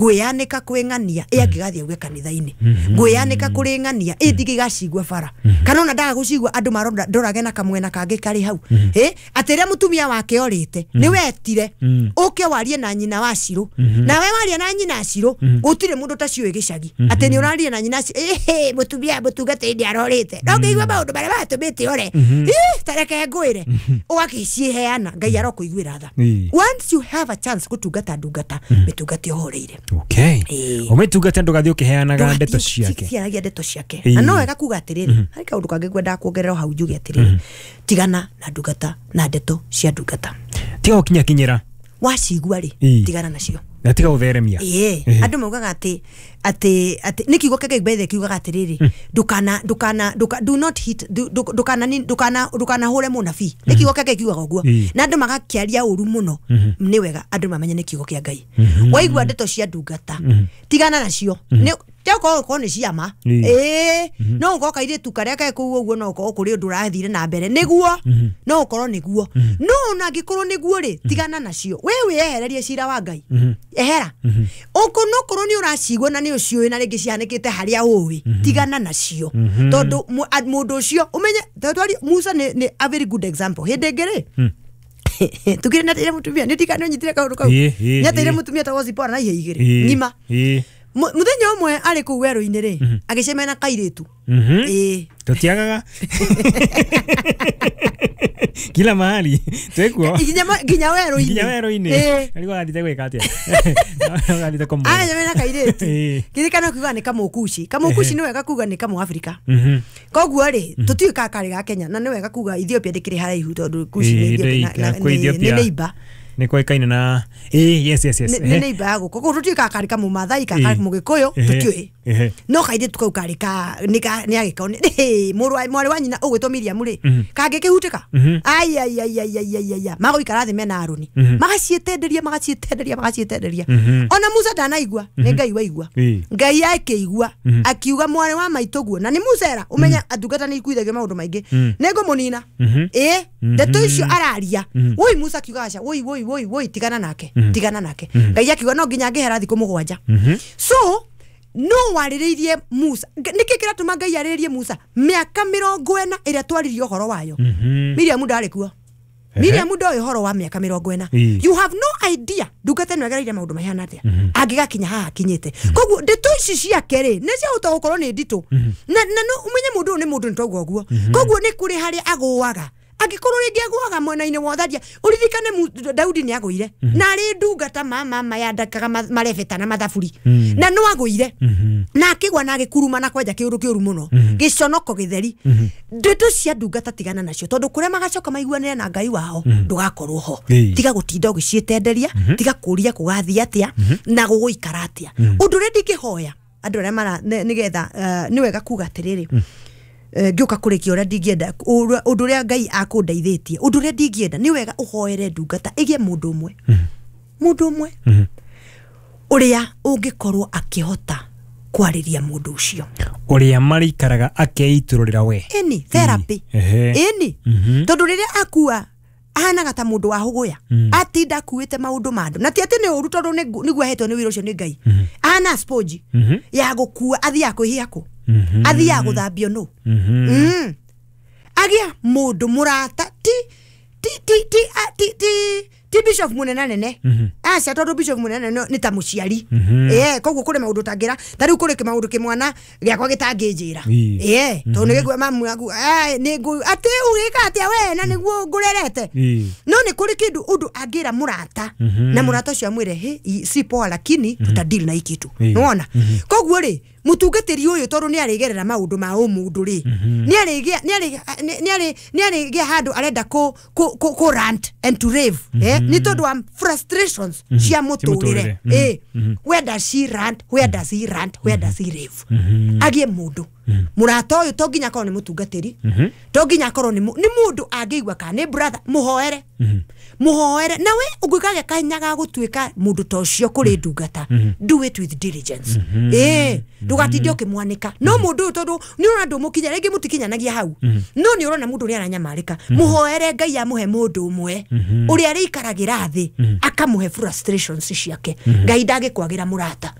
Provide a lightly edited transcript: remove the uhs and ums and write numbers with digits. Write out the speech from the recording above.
Ngwĩyanĩka kwĩ ng'ania ĩ angĩgathiĩ auge kanitha-inĩ, ngwĩyanĩka kũrĩ ng'ania ĩ ndingĩgacigua bara, kana ona ndaga gũcigua andũ marondorage na kamwena kangĩ karĩ hau, ĩ atĩ rĩrĩa mũtumia wake orĩte nĩ wetire ũke warie na nyina wa Cirũ, nawe waria na nyina Cirũ gũtirĩ mũndũ taciũĩ gĩcagi atĩ nĩ ũraria na nyina Cirũ, ĩhĩ mũtumia mũtungatĩri nĩ arorĩte, no ngĩigua maũndũ marĩa matũmĩte ore, ta reke ngwĩre, ũgakĩciheana Ngai arokũiguĩra tha. Once you have a chance gũtungata ndungata, mĩtungate ũhoreire. Okay. Ũmĩtungate ndũgathiĩ ũkĩheanaga ndeto ciake. Ciaragia ndeto ciake. Na no wega kuga atĩrĩrĩ, harĩ kaũndũ kangĩ ngwendaga kuongerera hau njuge atĩrĩrĩ, tigana na ndungata na ndeto cia ndungata. Tiga gũkinyakinyĩra. Wacigua rĩ, tigana nacio. Na tiga gũtheremia. Ĩĩ, andũ maugaga atĩ atĩ atĩ nĩ kiugo kĩa Ngai kiugaga atĩrĩrĩ, ndũkana ndũkana do not hit, ndũkana ndũkana ndũkanahũre mũnabii. Nĩ kiugo kĩa Ngai kiugaga ũguo. Na andũ magakĩaria ũru mũno. Nĩ wega andũ mamenye nĩ kiugo kĩa Ngai. Waigua ndeto cia ndungata, tigana nacio. Nĩ okorwo nĩ ciama, ĩĩ, no ũkorwo kairĩtu karĩa ke kũu ũguo, no ũkorwo kũrĩ ũndũ ũrathire na mbere nĩguo, no ũkorwo nĩguo, no ona angĩkorwo nĩguo rĩ, tigana nacio. We wĩyehererie cira wa Ngai, ehera no korwo nĩ ũracigua na nĩ ũciũĩ na rĩngĩ cihanĩkĩte harĩa ũĩ, tigana nacio, tondũ mũndũ ũcio ũmenye tondũ Musa nĩ a very good example. Hĩndĩ ĩngĩ rĩ, tukire nateire mũtumia nĩ ndirikana nĩ kaũndũ kau, nĩateire mũtumia etagwo Zipora na ihe igĩrĩ ng'ima. Muthenya ũmwe arĩ kũu werũ-inĩ rĩ, agĩcemania na kairĩtu. Ĩĩ. Tũtiagaga kila mahali twĩkuo nginya werũ-inĩ. Nginya werũ-inĩ. Arĩguo agathiĩte gwĩka atĩa? Agathiĩte kũmũra. Agĩcemania na kairĩtu. Kĩririkano kiugaga nĩ kamũkuci. Kamũkuci nĩ wega kuga nĩ kamũafrika. Koguo rĩ, tũtiũĩ kana karĩ ga Kenya, na nĩ wega kuga Ethiopia ndĩkĩrĩ haraihu tondũ Kushi nĩ Ethiopia nĩ neighbor. Nĩ kũĩkaine na yes yes yes. Nĩ neighbor ya gũkũ. Koguo tũtiũĩ kana karĩ kamũmathai kana karĩ mũgĩkũyũ, tũtiũĩ. No kairĩtu kau karĩ ka nĩ agĩkao nĩ mũrũ mwarĩ wa nyina ũgwĩtwo Miriam rĩ, kangĩkĩhutĩka, ai ai ai ai ai ai ai, magũikara thĩ mena Aroni, magaciĩtenderia magaciĩtenderia magaciĩtenderia. Ona Musa ndanaigua, nĩ Ngai waigua. Ngai akĩigua akiuga mwarĩ wa maitũ guo, na nĩ Musa era ũmenye ndungata nĩ ikuithagio maũndũ maingĩ, nĩ ngũmũnina. Ĩĩ, ndeto icio araria, woi Musa akiuga aca, woi woi woi woi, tigana nake, tigana nake. Ngai akiuga no nginya angĩhera thikũ 7. So no warĩrĩirie Musa. Nĩkĩ kĩratũma Ngai arĩrĩrie Musa mĩaka 40 ĩrĩa twaririe ũhoro wayo? Miriam ndarĩ kuo. Miriam ndoĩ ũhoro wa mĩaka 40. You have no idea ndungata ĩno ĩgereire maũndũ mahana atĩa angĩgakinya haha akinyĩte. Koguo ndeto ici ciake rĩ, nĩ ciahota gũkorwo nĩ nditũ, na no ũmenye mũndũ ũyũ nĩ mũndũ, nĩ twauga ũguo. Koguo nĩ kũrĩ harĩa agũaga. Angĩkorwo rĩngĩ agũaga mwena-inĩ wa ũtharia, ũririkane Daudi nĩ agũire na arĩ ndungata mama yandakaga marebeta na mathaburi, na no agũire na akĩgwa na agĩkuruma na kwenja kĩũndũ kĩũru mũno, gĩconoko gĩtheri. Ndeto cia ndungata tigana nacio, tondũ kũrĩa magacoka maiguanĩre na Ngai wao ndũgakorwo ho. Tiga gũtinda ũgĩciĩtenderia, tiga kũria kũgathiĩ atĩa na gũgũikara atĩa. Ũndũ ũrĩa ndingĩhoya andũ arĩa mara nĩgetha nĩ wega kuga atĩrĩrĩ, ngĩũka kũrĩkia ũrĩa ndingĩenda, ũndũ ũrĩa Ngai akũndeithĩtie, ũndũ ũrĩa ndingĩenda nĩ wega ũhoere ndungata ĩgĩe mũndũ ũmwe, mũndũ ũmwe ũrĩa ũngĩkorwo akĩhota kwarĩria mũndũ ũcio, ũrĩa marĩikaraga akeitũrũrĩra we. Ĩni therapy. Ĩni tondũ rĩrĩa akua ahanaga ta mũndũ wa hũgũya, atinda akuĩte maũndũ ma andũ, na ti atĩ nĩ ũru tondũ nĩguo ahetwo nĩ wĩra ũcio nĩ Ngai. Ahana sponge ya gũkua, athiaga kwĩhia kũ, athiaga gũthambio nũ. Agĩa mũndũ mũrata, ti ti ti ti ti ti ti bishop munene nene, aca, tondũ bishop munene nĩ ta mũciari, koguo kũrĩ maũndũ ũtangĩra, ta rĩu kũrĩ maũndũ kĩmwana gĩakwa gĩtangĩnjĩra, tondũ nĩ gĩkua mamu yaku, nĩ ngũ atĩ ũgĩka atĩa we na nĩguo ngũrerete. No nĩ kũrĩ kĩndũ ũndũ angĩra mũrata, na mũrata ũcio amwĩre he si poa, lakini tutadeal na hii kitu. Nĩwona? Koguo rĩ, mũtungatĩri ũyũ tondũ nĩ arĩgerera maũndũ ma ũmũndũ rĩ, nĩ arĩgĩa handũ arenda kũ rant and to rave, nĩ tondũ wa frustrations cia mũtũrĩre. Where does she rant? Where does he rant? Where does he rave? Agĩe mũndũ mũrata ũyũ, to nginya akorwo nĩ mũtungatĩri, to nginya akorwo nĩ mũndũ angĩigua kana nĩ brother, mũhoere. Muhoere nawe ũngĩkagĩa kahinya ga gũtuĩka mũndũ ta ũcio kũrĩ ndungata, do it with diligence. Ĩĩ, ndũgatinde ũkĩmwanĩka no mũndũ ũyũ, tondũ nĩ ũrona ndũmũkinya rĩngĩ, mũtikinyanagia hau, no nĩ ũrona mũndũ ũrĩa aranyamarĩka. Mũhoere Ngai amũhe mũndũ ũmwe ũrĩa arĩikaragĩra thĩ, akamũhe frustrations ciake. Ngai ndangĩkwagĩra mũrata.